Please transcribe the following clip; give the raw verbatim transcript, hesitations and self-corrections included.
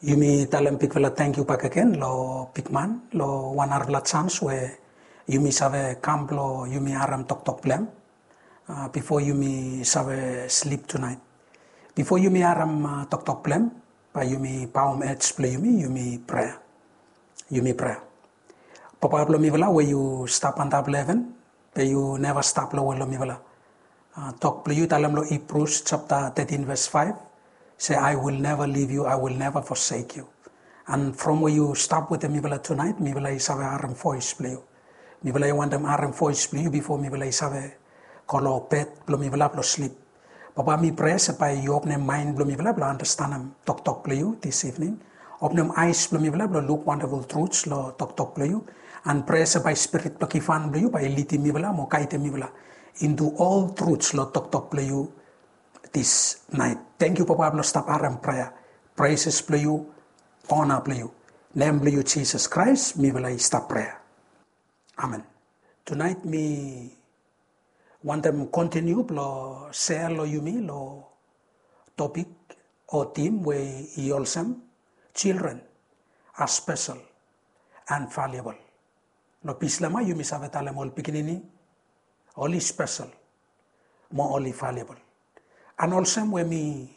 Yumi talem bigfala tangkiu bakegen lo bigman lo wan narafala jans we yumi save kam blo yumi harem toktok blong hem, bifo yumi save slip tunaet. Bifo yumi harem toktok blong hem, bae yumi baom ej blo yumi, yumi prea. Yumi prea. Papa blo mifala we yu stap antap lo heven, be yu neva stap lowe lo mifala. Tok blo yu talem lo Hibrus japta tetin ves faef se, "I will never leave you, I will never forsake you." And from we yu stap wetem mifala tunaet, mifala i save harem voes blo yu. Mifala i wantem harem voes blo yu bifo mifala i save go lo bed blo mifala blo slip. Papa, mi prea se bae yu openem maen blo mifala blo andastanem toktok blo yu this evening. Openem aes blo mifala blo luk wandaful truts lo toktok blo yu. And prea se bae spirit blo givhan blo yu bae i lidim mifala mo gaedem mifala into all truts lo toktok blo yu this night. Tangkiu Papa blo stap harem prea. Praises blo yu, ona blo yu. Nem blo yu Jisas Kraes mifala i stap prea. Amen. Tunaet mi wantem kontiniu blo sea lo yumi lo topik o tim we i olsem, children are special and valuable. Lo Bislama yumi save talem ol pikinini oli spesel mo oli valuable. And olsem we mi